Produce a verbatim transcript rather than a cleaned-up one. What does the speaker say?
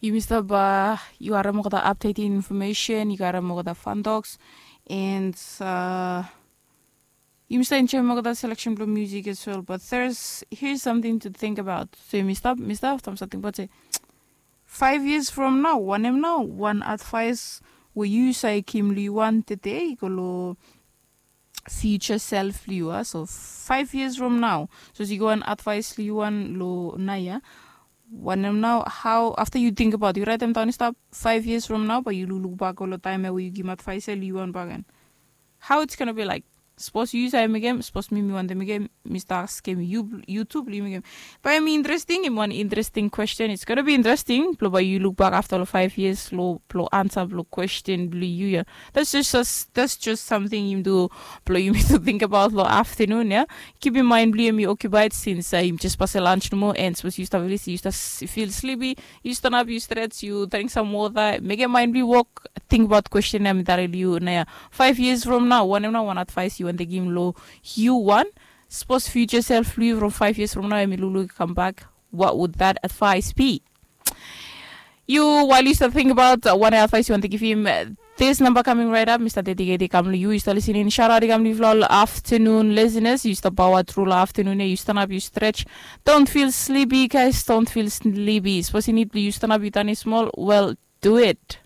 Yumi stap, yu harim olgeta updating information, yu harim olgeta fun talks, and yumi stap enjoyim olgeta selection blong music as well. But there's, here's something to think about. So yumi stap, mi stap afta mi stap tingbaot se, five years from now, wanem nao wan advice we yu save givim long yu wan tede i go long future self blong yu a? So five years from now, so yu go wan advice blong yu wan long naoia. Wanem nao, how, afta yu tingbaot, yu raetem daon i stap, five years from now bae yu lukluk bak go long taem ya we yu givim advice ya long yu wan bakegen. How it's gonna be like? Sapos yu save mekem, sapos mi mi wantem mekem, mi stap askem yu tu blong yu mekem. Bae hemi interesting, hemi wan interesting question. It's gonna be interesting blong bae yu luk bak afta long five years long blong ansa blong question blong yu ya. That's just us, that's just something yumi tu blong yumi tu tingbaot long aftanun ya. Kipim mind blong yu hemi occupied since yumi jes pasem lunch nomo, and sapos yu stap feel, yu stap feel sleepy, yu stanap, yu stretch, yu dring sam wota, mekem mind blong yu wok. Tingbaot question ya mi talem long yu naoia. Five years from now, wanem nao wan advice yu wantem givim long yu wan, sapos future self blong yu from five years from now hemi lukluk i kambak, what would that advice be? Yu, while yu stap tingbaot wanem advice yu wantem givim, this number coming right up mi stap dedicate i kam long yu, yu stap listening. Shout out i kam long yufala ol aftanun listeners, yu stap paoa tru long aftanun ya, yu stanap, yu stretch. Don't feel sleepy, guys, don't feel sleepy. Sapos i nid blong yu stanap, yu tanem smol, well, do it.